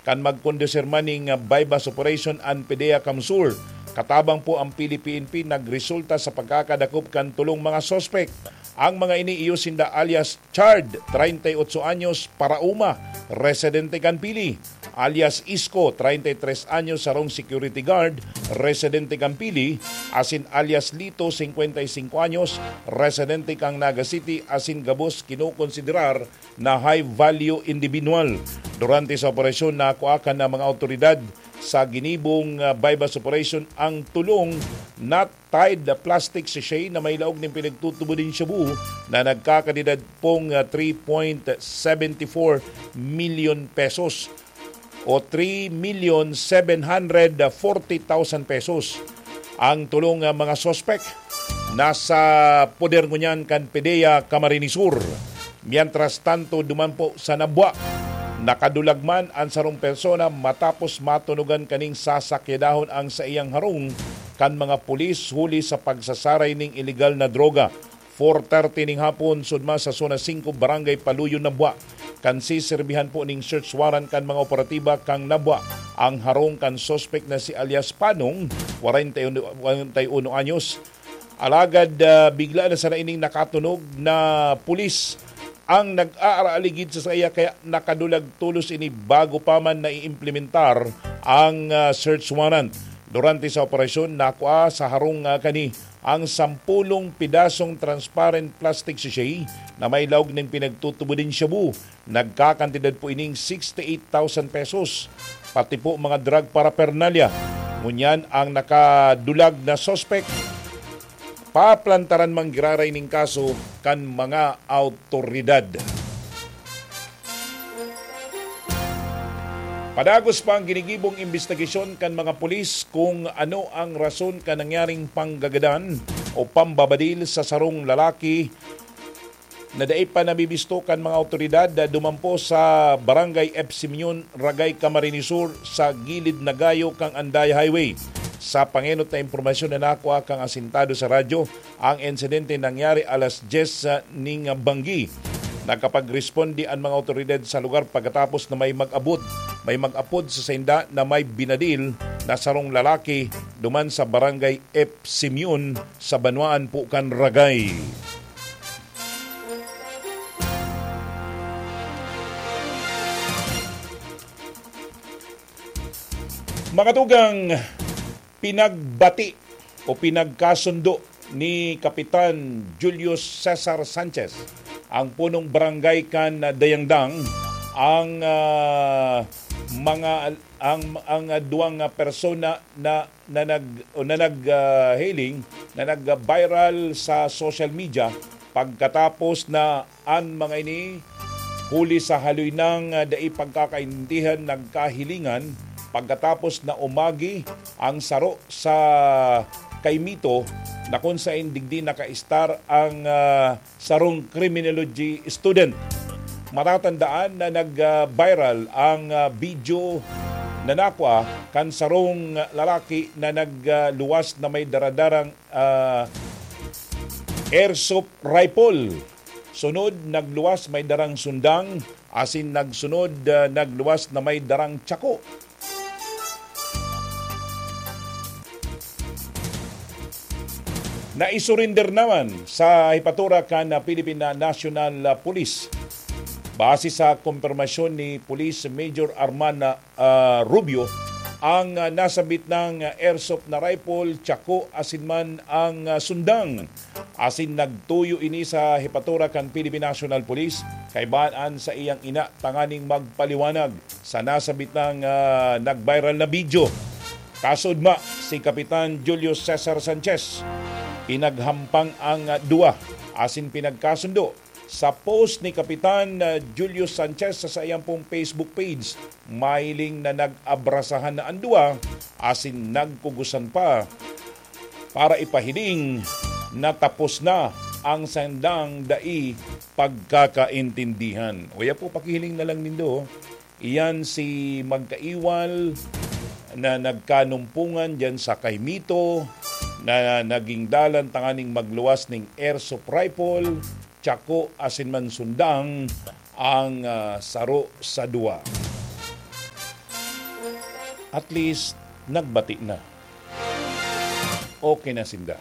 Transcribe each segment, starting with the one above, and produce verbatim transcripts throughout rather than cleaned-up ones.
kan magkondusir man ning, ah, buy-bust operation an PDEA CamSur. Katabang po ang P D P N P nagresulta sa pagkakadakop kan tulong mga suspek. Ang mga ini iyo sinda alias Chard, treinta y ocho anyos, Parauma, residente kan Pili, alias Isko, treinta y tres anyos, sarong security guard, residente kan Pili, asin alias Lito, cincuenta y cinco anyos, residente kan Naga City, asin gabos kinokonsiderar na high value individual. Durante sa operasyon, nakuha kan mga awtoridad sa ginibong, ah, buy-bust operation ang tulong na tied plastic sachet na may laog nin pinagtutubod nin shabu na nagkakantidad pong, ah, three point seven four million pesos o three million seven hundred forty thousand pesos ang tulong, ah, mga suspek. Nasa poder ngunyan kan PDEA Camarines Sur. Mientras tanto, duman po sa Nabua, nakadulag man an sarong persona matapos matunugan kaning sasakyadahon ang saiyang harong kan mga pulis huli sa pagsasaray ning ilegal na droga. Four thirty ning hapon, sudma sa Zona singko, Barangay Paluyon, Nabua, kan siserbihan po ning search warrant kan mga operatiba kan Nabua ang harong kan suspek na si alias Panong, kwarenta y uno, kwarenta y uno anyos. Alagad, ah, bigla na sana ining nakatunog na pulis ang nag-aaraligid sa saiya, kaya nakadulag tolos ini bago pa man naiimplementar ang, ah, search warrant. Durante sa operasyon, nakua sa harong, ah, kani ang sampulong pidasong transparent plastic sachet na may laog nin pinagtutubod nin shabu. Nagkakantidad po ining sixty-eight thousand pesos, pati po mga drug paraphernalia. Ngunyan ang nakadulag na suspek, paplantaran man giraray ning kaso kan mga awtoridad. Padagos pa ang ginigibong imbestigasyon kan mga pulis kung ano ang rason kan nangyaring panggagadan o pambabadil sa sarong lalaki na dai pa nabibisto kan mga awtoridad na dumampo sa Barangay F. Simeon, Ragay, Camarines Sur, sa gilid na gayo kan Andaya Highway. Sa pangenot na impormasyon na nakua kan asintado sa radyo, ang insidente nangyari alas dyes ning banggi. Nakapagresponde an mga awtoridad sa lugar pagkatapos na may mag-abot, may mag-apod sa sainda na may binadil na sarong lalaki duman sa Barangay F. Simeon sa banwaan po kan Ragay. Mga tugang, pinagbati o pinagkasundo ni Kapitan Julius Cesar Sanchez, ang punong barangay kan Dayangdang, ang, ah, mga, ang, ang, ah, duwang, ah, persona na, na nag-, o na nag, ah, hailing, na nag-viral sa social media pagkatapos na an mga ini, huli sa haloy nang, ah, dai pagkakaintindihan, nagkahilingan pagkatapos na umagi ang saro sa Caimito na kung saen digdi nakaistar ang, ah, sarong criminology student. Matatandaan na nag, ah, viral ang, ah, video na nakua kan sarong lalaki na nagluwas na may daradarang, ah, airsoft rifle. Sunod, nagluwas may darang sundang, asin nagsunod, ah, nagluwas na may darang tsako. Naisurinder naman sa hepatura kan Philippine National Police. Base sa kumpirmasyon ni Police Major Arman, ah, Rubio, ang, ah, nasabit nang airsoft na rifle, tsako, asin man ang, ah, sundang. Asin nagtuyo ini sa hepatura kan Philippine National Police, kaibahan an saiyang ina tanganing magpaliwanag sa nasabit nang, ah, nag-viral na video. Kasudma, si Kapitan Julio Cesar Sanchez, pinaghampang ang, ah, duwa asin pinagkasundo. Sa post ni Kapitan, ah, Julio Sanchez sa saiyang pong Facebook page, mahiling na nag-abrasahan na an duwa asin nagkugusan pa para ipahiling na tapos na ang sandang dai pagkakaintindihan. Uya po, pakihiling na lang nindo. Iyan si magkaiwal na nagkanumpungan diyan sa Caimito na naging dalan tanganing magluwas ning airsoft rifle, tsako asin man sundang ang, ah, saro sa duwa. at least, nagbati na. Okay na sinda.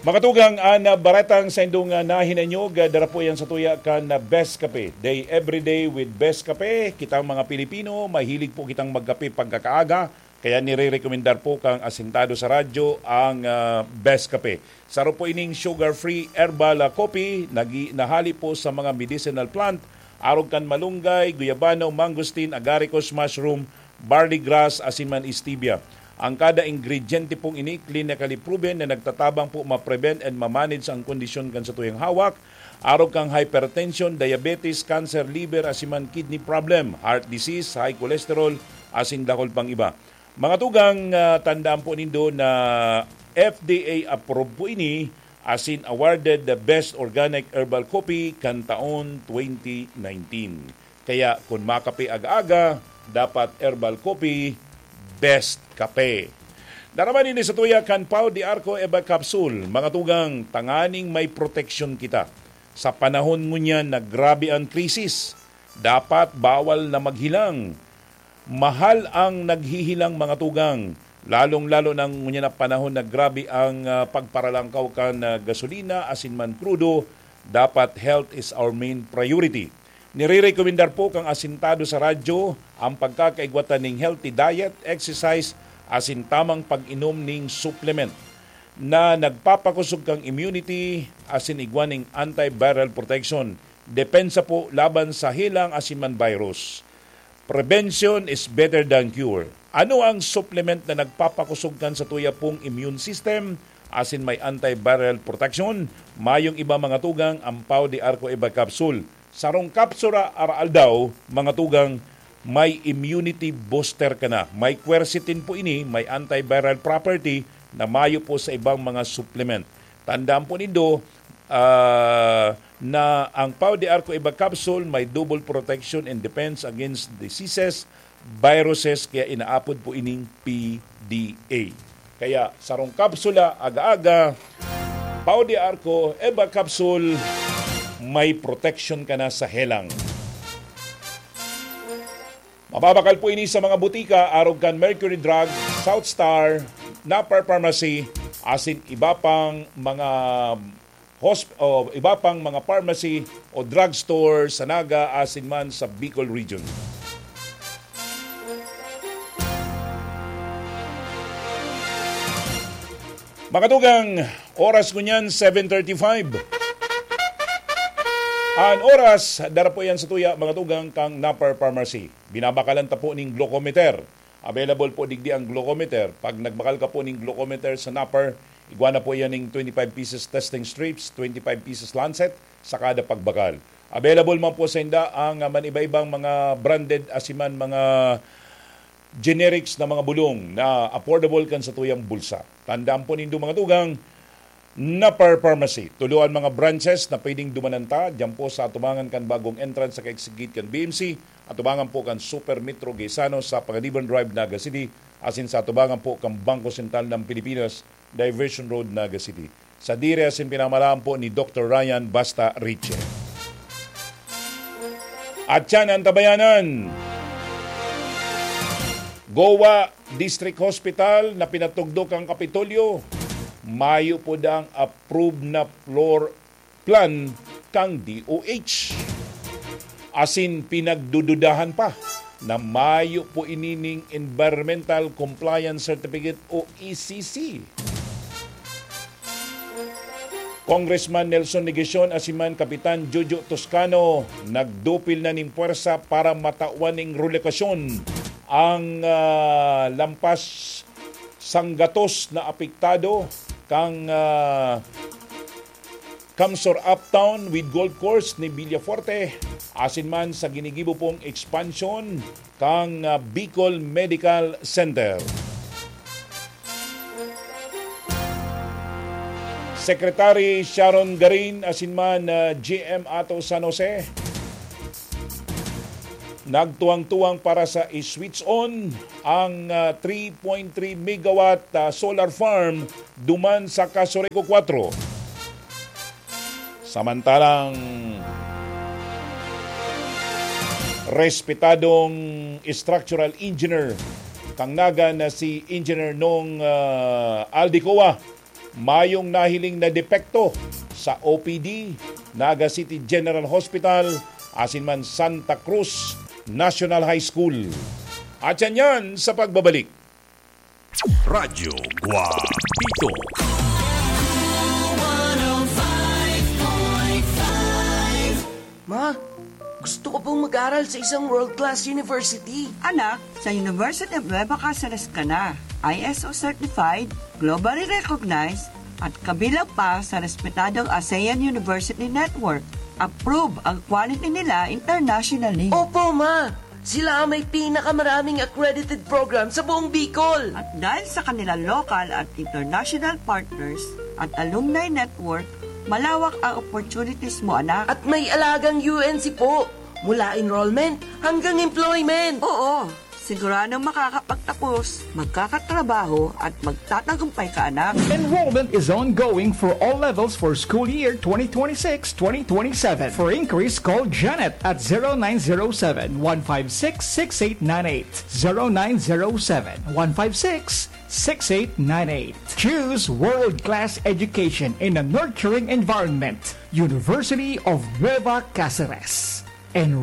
Mga tugang, an, ah, baretang saindong, ah, nahinanyog, ah, dara po yan sa tuya kan, ah, Best Kape. Day, every day with Best Kape. Kitang mga Pilipino, mahilig po kitang magkape pagkakaaga. Kaya nire-rekomendar po kang asintado sa radyo ang, ah, Best Kape. Saro po ining sugar-free herbal, ah, coffee, nagi-, nahali po sa mga medicinal plant, arog kan malunggay, guyabano, mangosteen, agaricus mushroom, barley grass, asin man stevia. Ang kada ingrediente pong ini, clinically proven na nagtatabang po ma-prevent and ma-manage ang kondisyon kan satuyang hawak, arog kang hypertension, diabetes, cancer, liver, asin man kidney problem, heart disease, high cholesterol, asin dakul pang iba. Mga tugang, ah, tandaan po nindo na F D A approved po ini, asin awarded the Best Organic Herbal Coffee kan taon twenty nineteen. Kaya kun makape aga-aga, dapat herbal coffee, Best Kape. Daraman ini sa tuya kan Pau de Arco Eva Capsule, mga tugang, tanganing may proteksyon kita. Sa panahon ngunyan na grabe ang krisis, dapat bawal na maghilang. Mahal ang naghihilang, mga tugang, lalong-lalo na ngunyan na panahon na grabe ang, ah, pagparalangkaw kan, ah, gasolina asin man krudo. Dapat health is our main priority. Nirerekomendar po kan asintado sa radyo ang pagkakaigwa ta ning healthy diet, exercise, asin tamang pag-inom ning supplement na nagpapakosog kan immunity asin igwa ning antiviral protection. Depensa po laban sa helang asin man virus. Prevention is better than cure. Ano ang supplement na nagpapakosog kan satuya pong immune system asin may antiviral protection? Mayong iba, mga tugang, ang Pau de Arco Eva Capsule. Sarong kapsula araaldaw, mga tugang, may immunity booster ka na. May quercetin po ini, may antiviral property na mayo po sa ibang mga supplement. Tandaan po nindo, ah, na ang Pau de Arco Eva Capsule may double protection and defense against diseases, viruses, kaya inaapod po ining P D A. Kaya sarong kapsula, aga-aga, Pau de Arco Eva Capsule, may protection ka na sa helang. Mababakal po ini sa mga butika, arog kan Mercury Drug, South Star, Napar Pharmacy, asin iba pang mga hosp-, o iba pang mga pharmacy o drugstore sa Naga asin man sa Bicol Region. Mga tugang, oras ngunyan, seven thirty-five. An oras, dara po yan sa tuya, mga tugang, kang Napar Pharmacy. Binabakalan ta po ning glucometer. Available po digdi ang glucometer. Pag nagbakal ka po ning glucometer sa Napar, igwa na po yan ning twenty-five pieces testing strips, twenty-five pieces lancet, sa kada pagbakal. Available man po sa inda ang, ah, man-iba-ibang mga branded asiman mga generics na mga bulong na affordable kan satuyang bulsa. Tandaan po nindo, mga tugang, Napar Pharmacy. Tulo an mga branches na pwedeng dumanan ta, diyan po sa atubangan kan bagong entrance sa ka-exit gate kan B M C, atubangan po kan Super Metro Gaisano sa Panganiban Drive, Naga City, asin sa atubangan po kan Bangko Sentral ng Pilipinas, Diversion Road, Naga City. Sa dire asin pinamalaan po ni Doktor Ryan Basta Riche. At yan ang tabayanan. Goa District Hospital na pinatugdok ang Kapitolyo, mayo po dang approved na floor plan kang D O H. Asin pinagdududahan pa na mayo po inining Environmental Compliance Certificate o E C C. Congressman Nelson Legacion asiman Kapitan Jojo Toscano nagdupil na ning pwersa para matawan ning relokasyon ang, ah, lampas sanggatos na apektado kang, ah, Kamsor Uptown with Golf Course ni Villafuerte, asin man sa ginigibo pong expansion kang, ah, Bicol Medical Center. Secretary Sharon Garin asin man, ah, G M Ato San Jose, nagtuwang-tuwang para sa i-switch on ang, ah, three point three megawatt, ah, solar farm duman sa Casureco Cuatro. Samantalang respetadong structural engineer kan Naga na si Engineer Nong, ah, Aldicoa, mayong nahiling na depekto sa O P D, Naga City General Hospital, asin man Santa Cruz National High School. At yan yan sa pagbabalik. Radyo Guapito. Ma, gusto ko pong mag-aral sa isang world-class university. Anak, sa University of Nueva Caceres ka na. I S O certified, globally recognized, at kabilang pa sa respetadong ASEAN University Network. Approve ang quality nila internationally. Opo, ma! Sila ang may pinakamaraming accredited program sa buong Bicol. At dahil sa kanilang local at international partners at alumni network, malawak ang opportunities mo, anak. At may alagang U N C po, mula enrollment hanggang employment. Oo, siguradong makakapagtapos, magkakatrabaho at magtatagumpay ka, anak. Enrollment is ongoing for all levels for school year twenty twenty-six twenty twenty-seven. For inquiries, call Janet at zero nine zero seven, one five six, six eight nine eight. Zero nine zero seven, one five six, six eight nine eight. Choose world-class education in a nurturing environment. University of Nueva Caceres. Enroll